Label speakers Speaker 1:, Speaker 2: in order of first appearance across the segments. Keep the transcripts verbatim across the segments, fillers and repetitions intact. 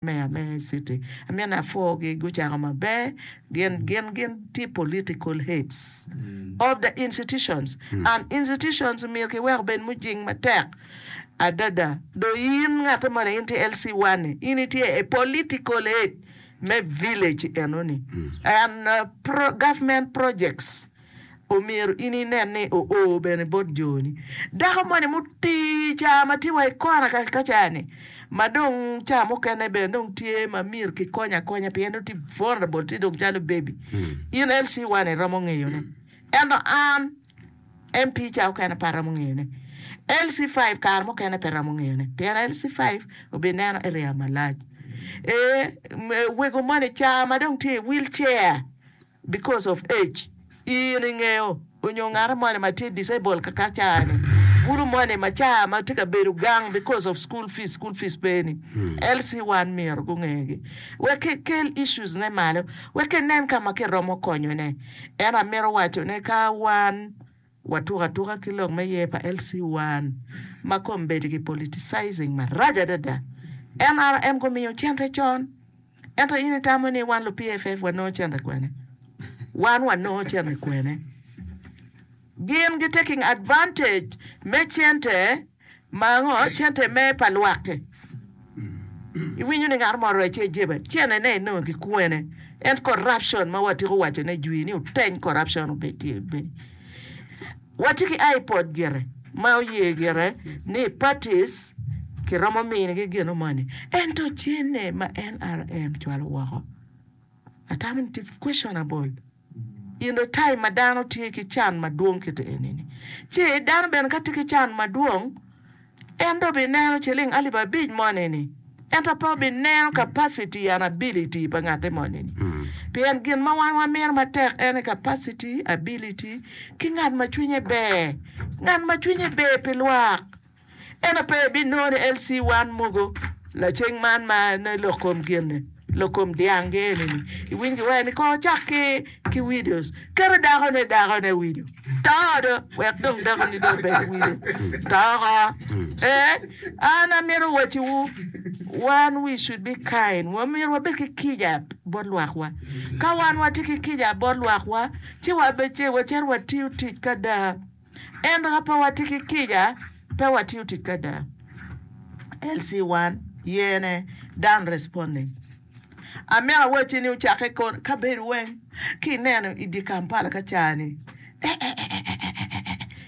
Speaker 1: Mayor me city amito ni apwogi gucako maber gin gin gin tye political heads of the institutions and institutions myero kiwek obed mujing matek adada dong in ngate moni in tye L C one ni in itye a political head me village enoni and government projects omyero in inen ni oo bene bot joni. Dako moni mutii ca ma tye wa i kona ka ca-ni ma dong ca mukene bene dong tye ma myero kikony akonya pien dong tye vulnerable tye dong calo baby in L C one iromo ngeyone ento an M P ca mukene pe aromo ngeyone L C five kare mukene pe romo ngeyone pien L C five obineno area malac ee wego moni ca ma dong tye i wheelchair because of age in ingeyo onyo ngat moni ma tye disabled kaka ca-ni bulu moni ma ca ma tye ka bedo gang because of school fees school fees pe ni L C one myero gungegi wek kikel issues ne malo wek kinen ka ma kiromo konyone en amito wacone ka wan watuko atuka ki lok me ye pa L C one ma kombeddi ki politicizing marac adada N R M gumiyo cente con ento in itamo ni wan lu P F F wanongo cente kwene wan wanongo cente kwene gin gi taking advantage me cente ma ngo cente me pa lwak iwinyo ni ngat mo orwec ci ejeba cente ne inongo ki kwene en corruption ma watiko wacone jwi ni oteny corruption obed tye bedi watye ki IPOD gire ma oye gire ni parties kiromo minigi gino moni ento cene ma N R M cwalo woko atamo ni tye questionable in the time ma dano tye ki can madwong kiti enini ci dano bene ka tye ki can madwong en do bineno ciling alip abic moni-ni ento pe obineno capacity and ability pa ngate moni-ni pien gin ma wan wamito matek en capacity ability ki ngat ma cwinye ber ngat ma cwinye ber pi lwak ento pe ibinongo ni L C one mogo laceng man ma lok kom gin lok kom dyang gi eni-ni iwinyo kiwaco ni ko cak ki ki widows keto dakone dakone widow to do wek dong dakoni dong obed widow toko eh an amito wacciwu wan we should be kind wamyero wabed ki kica bot lwakwa ka wan watye ki kica bot lwakwa ci wacito watiyo tic kada ento ka pe watye ki kica pe watiyo tic kada L C one yene done responding amito awacci ni ocakke kabedo weng ki ineno i dye Kampala ka cani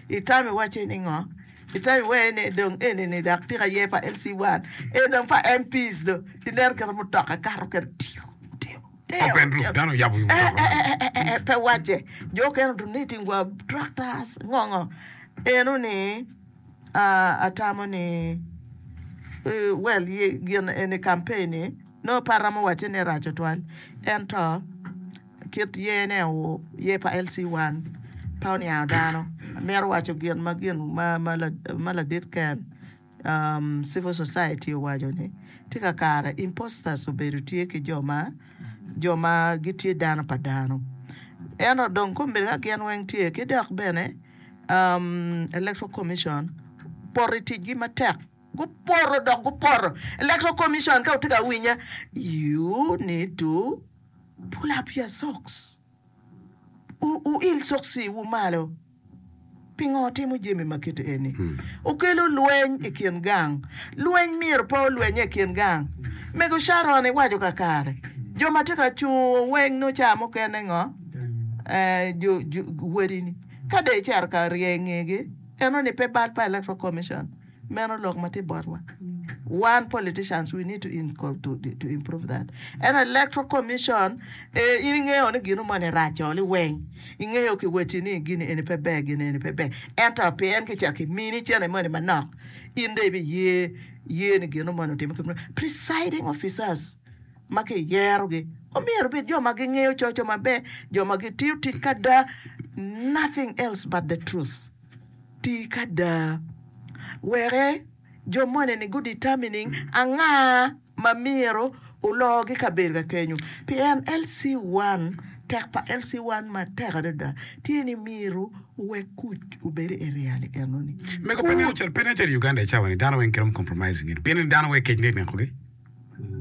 Speaker 1: itamo iwacce ni ngo itamo iwee ni dong eni dok tika ye pa L C one en dong pa M Ps do ineno kit mutoka kato kede tiyo tiyo
Speaker 2: Open roof dano oyabo wi mutoka.
Speaker 1: Pe wacce jo okene donating wa tractors ngo ngo eno ni atamo ni well gin eni campaign ni nongo pe aromo wacce ni rac tutwal ento kit yene ye pa L C one pe oniango dano amito waco gin ma gin ma ladit Ken civil society owaco ni tye kakare imposters obedo tye ki jo ma jo ma gitye dano pa dano ento dong kombeddi ka gin weng tye ki dok bene Electoral Commission poto i ticgi matek gupoto dok gupoto Electoral Commission ka wutye ka winya you need to pull up your socks wuil soksiwu malo pingo timo jami ma kit eni okelo lweny i kin gang lweny myero pe olwenye i kin gang mego Sharon iwaco kakare jo ma tye ka cungo weng nongo ca mukene ngo wadini ka dong icito ka rye ngegi eno ni pe bal pa Electoral Commission meno lok ma tye botwa wan politicians we need to, to, to improve that en Electoral Commission eh, in ingeyo ni gino moni raco liweng ingeyo kiweci ni gini eni pe ber gini eni pe ber ento pien kicako kimini cene moni manok in dong ibiye ye ni gino moni otime presiding officers ma kiyerogi omyero bed jo ma gingeyo coco maber jo ma gitiyo tic kada nothing else but the truth ti kada weke jo moni ni gu determining anga ma myero ologi kabedo ka kenyo pien L C one tek pa L C one matek adada tye ni myero owek kuc obed i area ni enoni.
Speaker 2: Mego pe nen calo pe nen calo i Uganda i cawa ni dano weng kiromo compromising it pien ni dano weng kec nek nekogi.